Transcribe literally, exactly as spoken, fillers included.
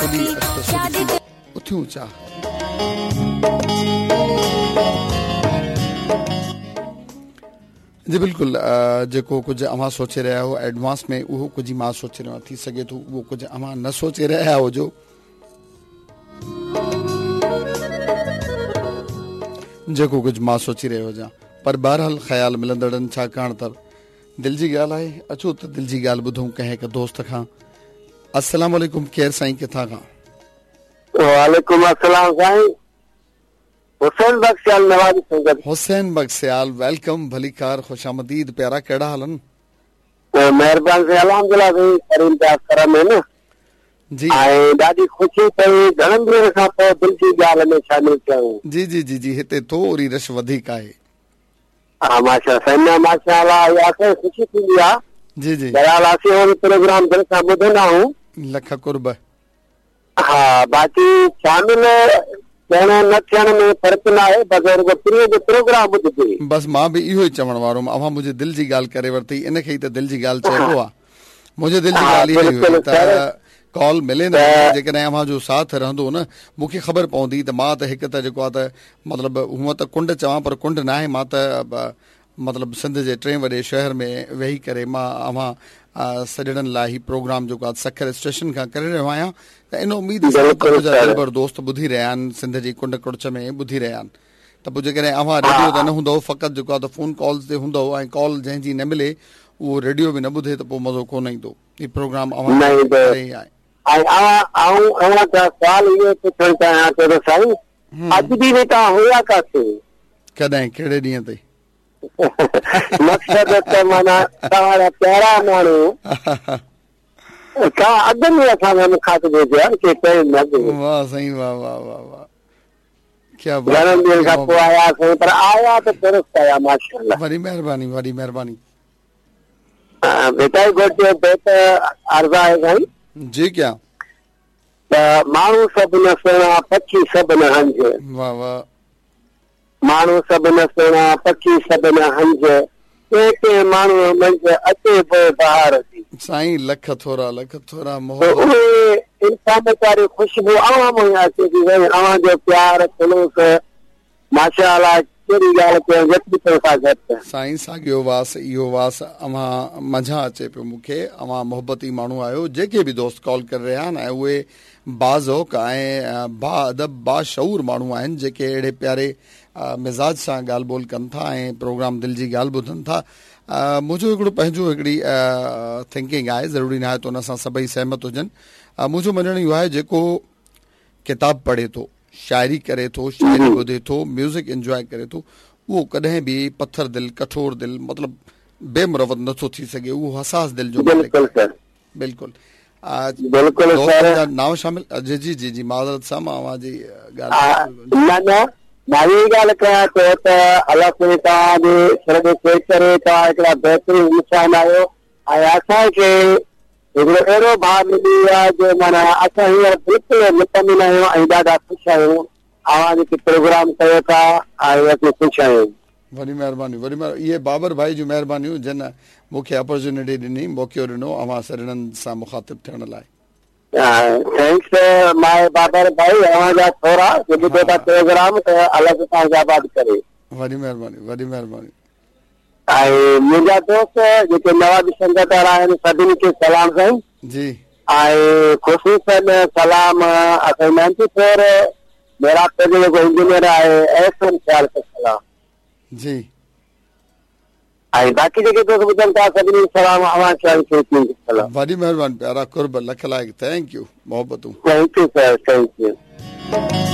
کلي اچ ته سڏ ٿي اٿيون چاهه. جي بلڪل، جيڪو ڪجهه اوهان سوچي رهيا آهيو ايڊوانس ۾ اهو ڪجهه مان سوچي رهيو آهيان. ٿي سگهي ٿو اهو ڪجهه اوهان نه سوچي رهيا هجو. جيڪو ڪجهه مان سوچي رهيو هجان، پر بهرحال خيال ملندڙن، ڇاڪاڻ ته دل جي ڳالهه آهي. اچو ته دل جي ڳالهه ٻڌون ڪنهن هڪ دوست کان. السلام عليڪم، ڪير سائين، ڪٿان کان؟ وعليڪم السلام سائين، حسين بخش سيال، نوابي سنگت. حسين بخش سيال، welcome, ڀليڪار، خوش آمديد پيارا، ڪهڙا حال آهن؟ مهرباني سائين، الحمدلله سائين، ڪريم جا ڪرم آهن جي. ۽ ڏاڍي خوشي ٿي گهڻن ڏينهن کان پوءِ دل جي ڳالهه ۾ شامل ٿيا آهيون. جي جي جي جي، هتي ٿوري رش وڌيڪ آهي. ها ماشا سائين، نه ماشاءالله، اها اسان کي خوشي ٿيندي آهي. جي جي. بهرحال اسين اهو پروگرام دل سان ٻڌندا آهيون. لک قرب. ها، باقي شامل ٿيڻ نه ٿيڻ ۾ فرق نه آهي، بس رڳو پرينءَ جو پروگرام ٻڌجي. بس مان به اهو ئي چوڻ وارو هئم، اوهان منهنجي دل جي ڳالهه ڪري ورتي، ان کي ئي ته دل جي ڳالهه چئبو آهي. منهنجي دل جي ها، ڳالهه اها ئي هئي بلڪل ته سر. ڪال ملي نه ملي، جيڪڏهن اوهان جو ساٿ رهندو نه، مون کي خبر پوندي ته مان ته هڪ ته جيڪو آهي ته مطلب هونئن ته ڪنڊ چوان پر ڪنڊ نه آهي، مان ته مطلب سنڌ جي ٽئين وڏي شهر ۾ ويهي ڪري مان اوهان سڄڻن لاءِ هي پروگرام جيڪو آهي سکر اسٽيشن کان ڪري رهيو آهيان، ته ان اميد سان ته منهنجا دلبر دوست ٻڌي رهيا آهن، سنڌ جي ڪنڊ ڪڙڇ ۾ ٻڌي رهيا آهن. ته پوءِ جيڪڏهن اوهان ريڊيو تي نه هوندؤ، فقط جيڪو آهي ته فون ڪالز تي هوندؤ ۽ ڪال جنهن جي نه ملي اهو ريڊيو به نه ٻڌي ته پوءِ مزو ڪونه ايندو. هي پروگرام اوهان نه ايندو. ڪري ئي آهي. ۽ آئون اوهان کان سوال اهو پڇڻ چاهيان ٿو ته سائين، اڄ ڏينهن توهان هئا ڪاٿي؟ ڪڏهن، ڪهڙي ڏينهن تي؟ مقصد ته معنيٰ توهان جا پيارا ماڻهو توهان اڳ ۾ اسان کان مخاطب هجو ها، ڪي پهرين نه اڳ ۾. واهه سائين، واهه واهه واهه واهه، ڪيا بات. گهڻن ڏينهن کان پوءِ آياسين، پر آيا ته درست آيا ماشاءالله. وڏي مهرباني، وڏي مهرباني. ڀٽائي گهوٽ جو بيت عرض آهي سائين. جي ڪيا؟ ته ماڻهو سڀ نه سهڻا، پکي سڀ نه هنج. واهه واهه. ماڻهو سڀ نه سهڻا، پکي سڀ نه هنج، ڪنهن ڪنهن ماڻهوءَ منجهه اچي پوءِ بهار جي. سائين لک ٿورا، لک ٿورا، ته محبت. اهي انسانيت واري خوشبو اوهان مان ئي اچي ٿي سائين. اوهان جو پيار خلوص ماشاءالله، ڪهڙي ڳالهه ڪيان، جيتري تو کان گهٽ. سائين ساڳيو واس، اهو واس اوهان منجهان اچي پيو مون کي. اوهان محبتي ماڻهو آهيو. جيڪي به دوست ڪال ڪري رهيا آهن ۽ اهي باذوق ۽ با ادب باشعور ماڻهو آهن، جيڪي اهڙي پياري مزاج سان ڳالهه ٻولهه ڪن ٿا ۽ پروگرام دل جي ڳالهه ٻڌن ٿا. منهنجو هڪڙو پنهنجو هڪڙي ٿنڪنگ آهي، ضروري نه آهي ته ان سان سڀئي سهمت هجن. منهنجو مڃڻ اهو آهي جيڪو ڪتاب پڙهي ٿو، شاعري ڪري ٿو، شاعري ٻڌي ٿو، ميوزڪ انجواءِ ڪري ٿو، اهو ڪڏهن به پٿر دل، ڪٺور دل، مطلب بي مروت نٿو ٿي سگهي. اهو حساس دل جو مالڪ بلڪل آهي. سر. بلڪل. بلڪل دوستن سر. جا نانءُ شامل. جي جي جي جي، معذرت سان مان اوهان جي ڳالهه. نه نه، مان اها ڳالهه ڪيان ٿو ته الله سائين توهان جي سر تي چئي ڪري توهان هڪڙا بهترين انسان آهيو ۽ اسان کي هڪڙو اهڙو ڀاءُ ملي ويو آهي جو معنيٰ اسان هينئر بلڪل مطمئن آهيون ۽ ڏاڍا خوش آهيون. اوهان جيڪي پروگرام ڪيو ٿا ۽ اسين خوش آهيون. وڏي مهرباني، وڏي مهرباني. اهي بابر ڀائي جون مهربانيون جن مون کي اپرچونٽي ڏني، موقعو ڏنو اوهان سڄڻن سان مخاطب ٿيڻ لاءِ. Thanks ماءِ بابر ڀائي، اوهان جا ٿورا جو ٻڌو ٿا پروگرام، ته الله توهان کي آباد ڪري. وڏي مهرباني، وڏي مهرباني. ۽ منهنجا دوست جيڪي نوابي سنگت وارا آهن سڀني کي سلام سائين. جي. ۽ خصوصن سلام اسان نائنٽي فور ميرا جو جيڪو انجنيئر آهي احسن سيال کي سلام. جي. ۽ باقي جيڪي دوست ٻڌن ٿا سڀني کي سلام، اوهان کي سلام. وڏي مهرباني پيارا، قرب، لک لائق، thank you, محبتون. Thank you sir, thank you.